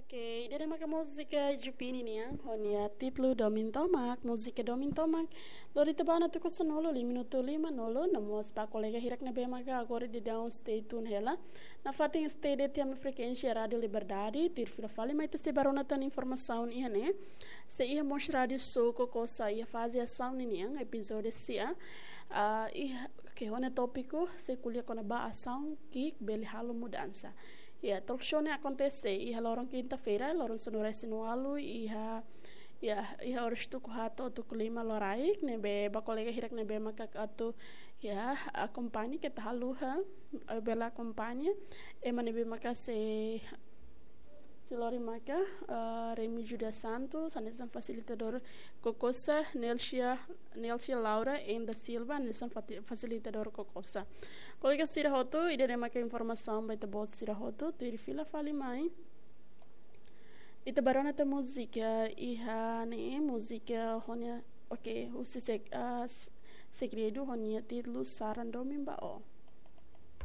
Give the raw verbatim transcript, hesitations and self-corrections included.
Oke, ida-ne'e maka múzika Jupini nian, ho nia títulu Domin Tomak, múzika Domin Tomak. Lori ita ba ona tuku sanulu, lima minutu lima nulu, no mós ba kolega hirak ne'ebé maka agora daudaun stay tune hela. Nafatin stay de'it iha ami frekuénsia Rádiu Liberdade, tuir fila fali mai ita sei bá rona tan informasaun iha ne'e. Sei iha mós Rádiu Soko Kosa iha faze asaun ninian, epizódiu sia. Ah, iha, oke, ho nia tópiku, sei ko'alia kona-ba asaun ki'ik bele halo mudansa. Ya, talk show ne'e akontese iha loron kinta-feira, loron sanulu-resin-ualu, iha, ya, iha oras tuku haat to'o tuku lima loraik, ne'ebé ba kolega hirak ne'ebé maka atu, ya, akompaña keta haluha, eh, bele akompaña, ema ne'ebé maka sei, sei lori maka, eh, Remy Judas Santos, hanesan fasilitadór KOKOSA, Nelsia, Nelsia Laura N da Silva, hanesan fati-, fasilitadór KOKOSA. Kolega sira hotu, ida-ne'e maka informasaun ba ita-boot sira hotu, tuir fila fali mai. Ita bá rona tan múzika iha ne'e, múzika ho nia, oke, husi sek-, ah, s-, Segredu ho nia títulu Saran Domin ba Ó.